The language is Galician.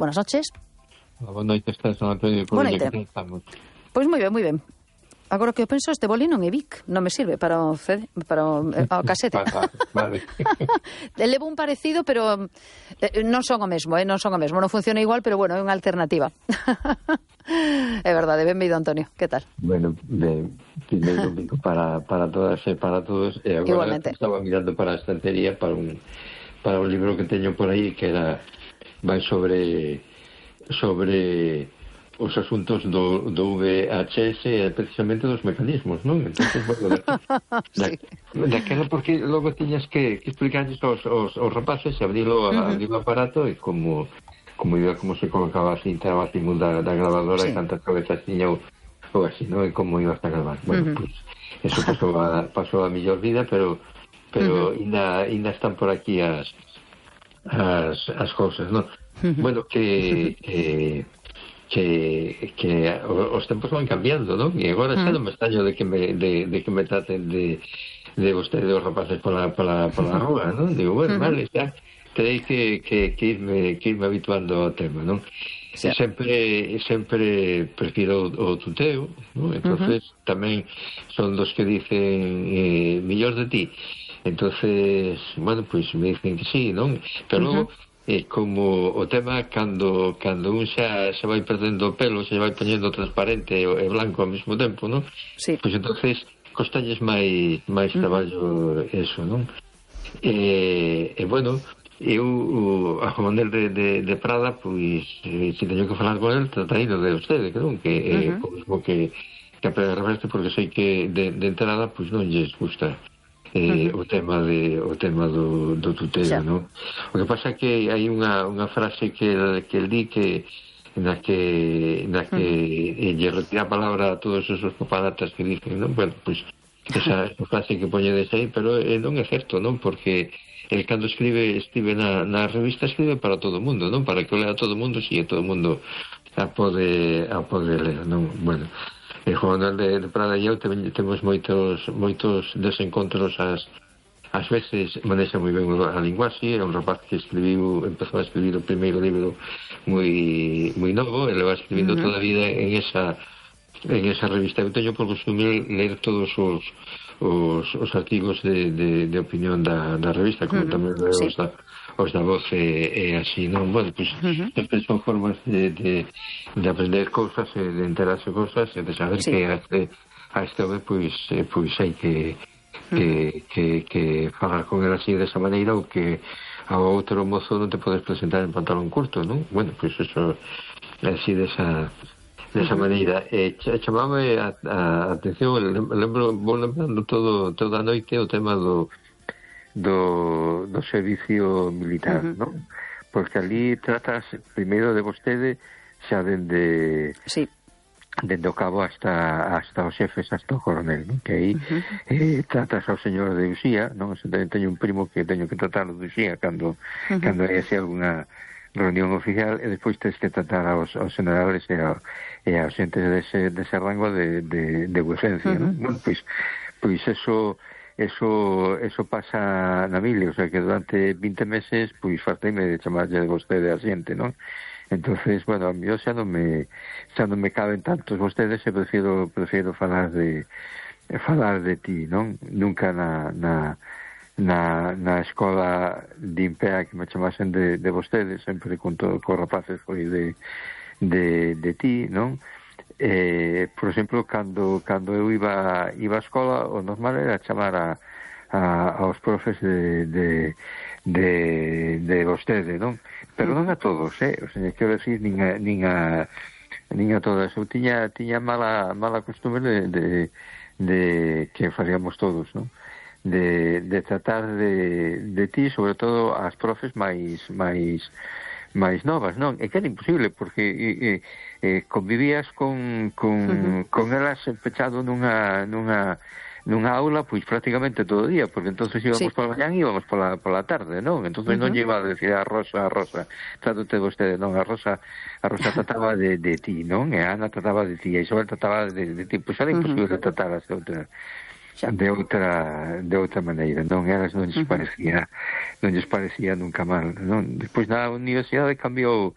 Buenas noches. Boa noite, estás, Antonio. Boa noite. Pois moi ben. Agora que eu penso, este boli non é Vic, non me sirve para o casete. Vale. Levo un parecido, pero non son o mesmo, non funciona igual, pero bueno, é unha alternativa. É verdade, benvido, Antonio, que tal? Bueno, primeiro digo para todas e para todos, e agora igualmente. Estaba mirando para a estantería para un libro que teño por aí que vai sobre os asuntos do VHS e precisamente dos mecanismos, non? Entonces, bueno, daquela porque logo tiñas que explicarles aos rapaces e abrilo o aparato e como se colocaba a cinta o timón da grabadora e cantas cabezas tiña ou así, non? E como ibas a gravar. Bueno, pues eso pasou a mellor vida, pero ainda están por aquí as cousas, non? Bueno, que os tempos van cambiando, non? E agora xa non me extraño de que me traten de vostede os rapaces pola rúa, non? Digo, bueno, vale, xa terei que irme habituando ao tema, non? Sí. Sempre prefiro o tuteo, non? Entonces tamén son dos que dicen mellor de ti. Entonces, bueno, pues me dicen que sí, non? Pero logo como o tema cando un xa se vai perdendo o pelo, se vai poñendo transparente e blanco ao mesmo tempo, non? Sí. Pois entonces costalles máis traballo eso, non? E bueno, eu a Juan Manuel de Prada, pois se teño que falar con el, trataino de vostede, non? Que é o mismo que a Pedro Reverte, porque sei que de entrada pois non lles gusta o tema do tuteo, non? O que pasa é que hai unha frase que el di que na que lle retira a palabra a todos esos papanatas que dicen, non? Bueno, pois esa frase que poñedes aí, pero non é certo, non? Porque el cando escribe na revista escribe para todo o mundo, non? Para que o lea todo o mundo, si todo o mundo a pode ler, non? Bueno, e Juan Manuel de Prada e eu temos moitos desencontros ás veces manexa moi ben a linguaxe. É un rapaz que empezou a escribir o primeiro libro moi novo, e leva escribindo toda a vida en esa revista. Eu teño por costume ler todos os artigos de opinión da revista, como tamén leo os da Voz e así, non? Bueno, pois sempre son formas de aprender cousas e de enterarse cousas e de saber que a este home pois hai que falar con el así desa maneira, ou que ao outro mozo non te podes presentar en pantalón curto, non? Bueno, pois eso así desa maneira. Chamame a atención, vou lembrando toda a noite o tema do servicio militar, non? Porque ali tratas primeiro de vostede xa dende o cabo hasta os xefes, hasta o coronel, non? Que aí tratas ao señor de Uxía, non? Teño un primo que teño que tratarlo de Uxía cando hai así alguna reunión oficial, e despois tens que tratar aos generales e aos xentes dese rango de vuecencia, non? Bueno, pois eso pasa na mille, o sea que durante 20 meses pois farteime de chamarlle de vostede a xente, non? Entonces, bueno, a mí xa non me caben tantos vostedes, e prefiro falar de ti, non? Nunca na escola de Impea que me chamasen de vostedes, sempre con rapaces foi de ti, non? Por exemplo, cando eu iba á escola, o normal era chamar aos profes de vostede, non? Pero non a todos, o sea, quero decir, nin a todas. Eu tiña mala costumbre de que faríamos todos, non? De tratar de ti, sobre todo as profes máis novas, non? E que era imposible, porque convivías con elas pechado nunha aula, pois prácticamente todo o día, porque entonces íbamos pola mañán e íbamos pola tarde, non? Entonces non lle iba a decir a Rosa, trátate vostede, non? A Rosa trataba de ti, non? E a Ana trataba de ti, e Isabel trataba de ti, pois era imposible tratar de outra maneira, non? Elas non lles parecía nunca mal, non? Despois na universidade cambiou